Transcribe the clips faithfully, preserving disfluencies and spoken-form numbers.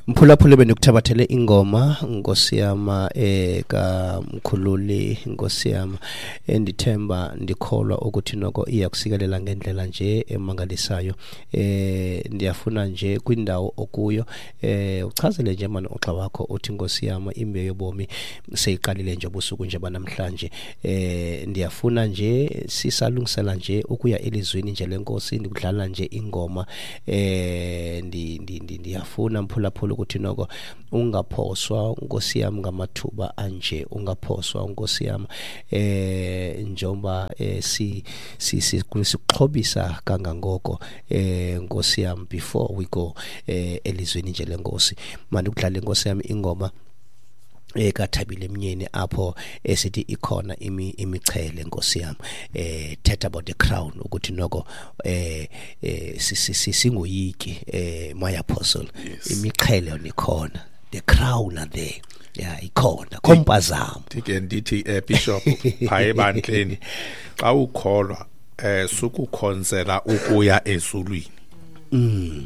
Mphulaphuli, bendikuthabathele ingoma, Nkosi yam, eh kaMkhululi, Nkosi yam, endithemba ndikholwa ukuthi noko iyakusikelela ngendlela nje emangalisayo. eh Ndiyafuna nje kwindawo okuyo eh uchazele nje mani uxa wakho uthi, Nkosi yam, imbewu yobomi seyiqalile nje ubusuku nje banamhlanje. eh Ndiyafuna nje sisalungisela nje ukuya elizwini nje lenkosi, ndikudlala nje ingoma. eh ndi ndiyafuna mphulaphula ukuthi noko ungaphoswa, Nkosi yami, ngamathuba anje, ungaphoswa, Nkosi yami, eh njengoba eh, si si sikuxhobisa kangangoko, eh Nkosi yami, before we go eh elizweni nje lenkosi. Manje ukudlala, Nkosi yami, ingoma ekaThabile Mnyeni apho esithi ikhona imi imichele, Nkosi yami, eh thetha about the crown, ukuthi noko eh singoyiki, eh my apostle, imichele yona ikhona, the crown are there, yeah, ikhona kompazamo. Ndike ndithi, eh Bishop, pha ebandleni xa ukholwa eh sukukhonzela ukuya ezulwini, mm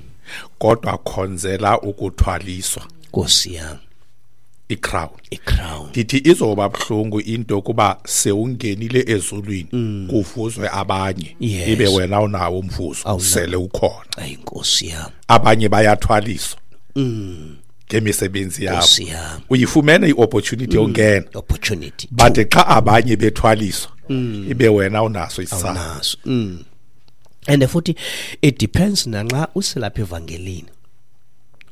kodwa khonzela ukuthwaliswa, Nkosi yami, icrown. Icrown. Ndithi izoba buhlungu into kuba sewungenile ezulwini, kuvuzwe abanye, Yes. ibe wena unawo umvuzo Awunawo. sele ukhona. Ayi, Nkosi yami. Abanye bayathwaliswa mm ngemisebenzi yabo. Nkosi yami. Uyifumene iopportunity yongena, Opportunity, but xa abanye bethwaliswa, ibe wena unaso isisakho. Awunaso. mm and futhi it depends nanxa uselapha evangelini,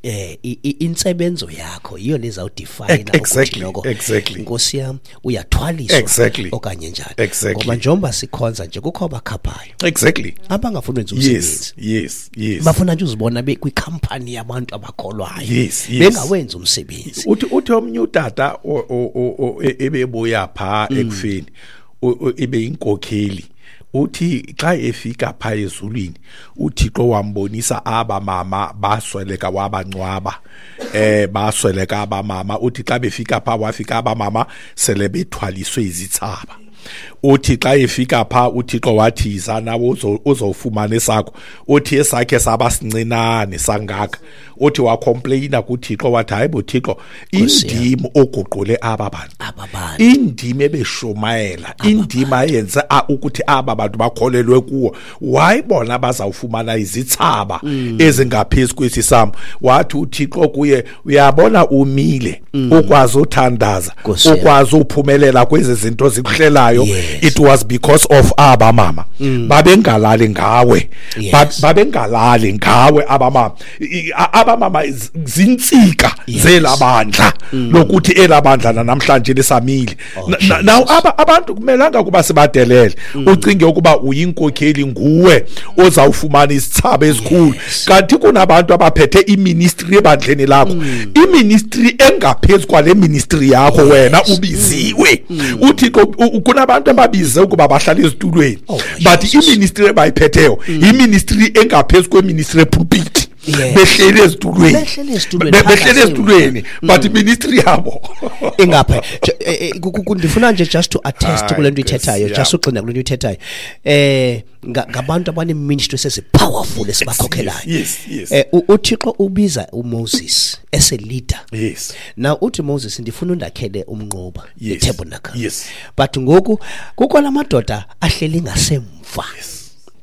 eh i- i- insebenzo yakho yiyo lezawudefine. Exactly, exactly. Nkosi yami, uyathwaliswa Exactly. okanye njani. Exactly. Ngoba njengoba sikhonza nje kukho abakhaphayo exactly abangafuni wenza umsebenzi. yes yes yes Bafuna nje uzibona bekwikhampani yabantu abakholwayo, Yes, yes. bengawenzi umsebenzi. Uthi uthi omnye utata o- o- o- o- e- ebebuya pha ekufeni, o- o- ibe inkokheli, uthi xa efika pha ezulwini uThixo wambonisa aba mama basweleka, wabancwaba, eh basweleka aba mama. Uthi xa befika pha, wafika aba mama sele bethwaliswe izithsaba. Uthi xa efika pha uThixo wathi, "Yiza nawe uzo- uzofumana esakho." Uthi esakhe saba sincinane sangaka. Uthi wacomplaina kuThixo, wathi, "Hayi bo Thixo, indim oguqule aba bantu, Aba bantu. Indima ebeshumayela, indima ayenze a- ukuthi aba bantu bakholelwe kuwo, why bona bazawufumana izithsaba ezingaphezu kwesi sam?" Wathi uThixo kuye, "Uyabona umile, ukwazi uthandaza, Nkosi yami. ukwazi uphumelela kwezi zinto zikuhlelayo, Yes. it was because of aba mama babengalali ngawe." Yes. Ba- babengalali ngawe aba mama. I- i- aba mama z- zintsika Yes. zelabandla lokuthi elabandla namhlanje lisamile. Oh, Na- na- now aba abantu kumelanga kuba sibadelele. Ucinge ukuba uyinkokheli, nguwe ozawufumana isithsaba esikhulu, Yes. kanti kunabantu abaphethe iministry ebandleni lakho, iministry engaphezulu kwale ministry yakho wena ubiziwe. UThixo u- u- kunabantu ababize ukuba bahlale ezitulweni, Oh, but Jesus. iministry ebayiphetheyo iministry engaphezulu kweministry epulpit. Yes. Behleli ezitulweni. Behleli ezitulweni, Be- behleli phakathi. ezitulweni, but iministry yabo Ingapha. Je- eh, eh, ku- ku- ku- ndifuna nje just to attest Hayi, kule nto Nkosi ithethayo, yam. just ugxina kule nto ithethayo, eh nga- ngabantu abane-ministry sezi-powerful esibakhokhelayo. yes yes eh u- uThixo ubiza uMoses as a leader. Yes now uthi, "Moses, ndifuna undakhele umnquba, Yes. itabernacle." Yes. But ngoku kukho la madoda ahleli ngasemva,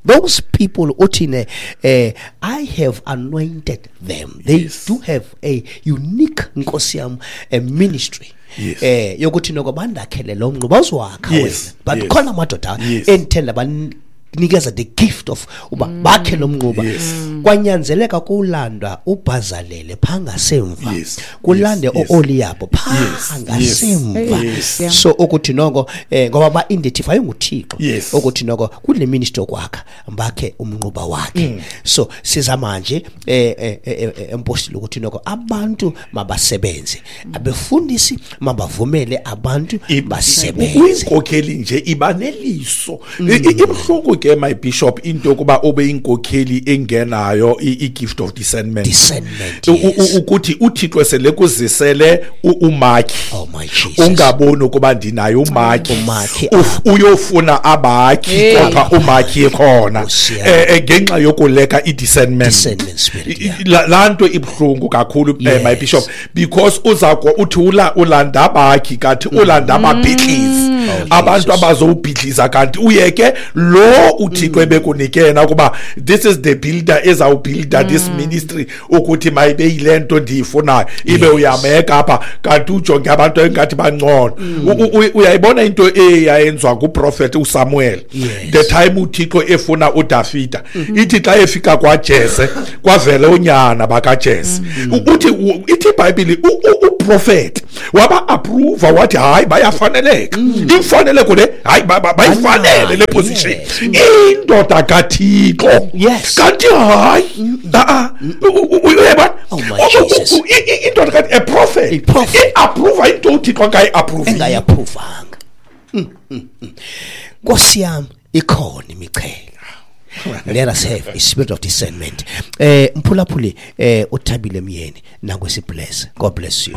those people uthi ne eh "I have anointed them." They Yes. do have a unique, Nkosi yam, a ministry Yes. eh yokuthi noko bandakhele lo mnquba uzowakha Yes, wena, but yes. khona amadoda Yes. endithenda banikeza the gift of uba bakhe lo mnquba. Yes. Kwanyanzeleka kulandwa uBhazalele phaa ngasemva, Yes. kulande Yes. Yes. o-Oliyabo phaa Yes. ngasemva. Yes. Yeah. So ukuthi noko eh ngoba ba-identify nguThixo Yes. ukuthi noko kule ministry yokwakha bakhe umnquba wakhe. Mm. So sizama nje eh eh, eh, eh, empostile ukuthi noko abantu mabasebenze, abefundisi mabavumele abantu I- basebenze. Uyinkokheli nje iba neliso. I- i- ibuhlungu ke, my bishop, into yokuba ube inkokheli engenayo i-gift of discernment. Discernment, U- u- yes. Ukuthi uThixo sele kuzisele u- umakhi. Oh my Jesus. Ungaboni ukuba ndinayo umakhi. Umakhi. Uf- uyofuna abakhi, Hey. kodwa umakhi ekhona. Nkosi yam. Eh, eh, ngenxa yokuleka i-discernment. Discernment spirit, I- yeah. la laa nto ibuhlungu kakhulu, eh, my Yes. bishop, because uza uthi ula ulanda abakhi, kanti ulanda ababhidlizi, Oh, abantu Jesus. abazowubhidliza, kanti uye ke lo uThixo ebekunike yena ukuba this is the builder ezawubuilda this ministry, ukuthi mayibe yile nto ndiyifunayo, ibe Yes. uyameka apha, kanti ujonge abantu engathi bangcono. U- u- u- uyayibona into eyayenziwa nguprofeti uSamuel? Yes. The time uThixo efuna uDavida, ithi xa efika kwaJese, kwavele unyana bakaJese. U- uthi u- ithi iBhayibhile uprofeti waba approve, wathi hayi, bayafaneleka, imfaneleko le, hayi, ba- ba- bayifanele le position, Yes. indoda kaThixo. Yes. Kanti hayi, a uyabona? Oh my U- u- Jesus. u- i- i- indoda kathi, a prophet, A prophet. i-approve into uThixo angayi-approve. Engayaphuvanga. Mm, mm, mm. Nkosi yam, ikhona imichele. Let us have a spirit of discernment. Eh mphulaphuli, eh uThabile Myeni nakwesi bless. God bless you.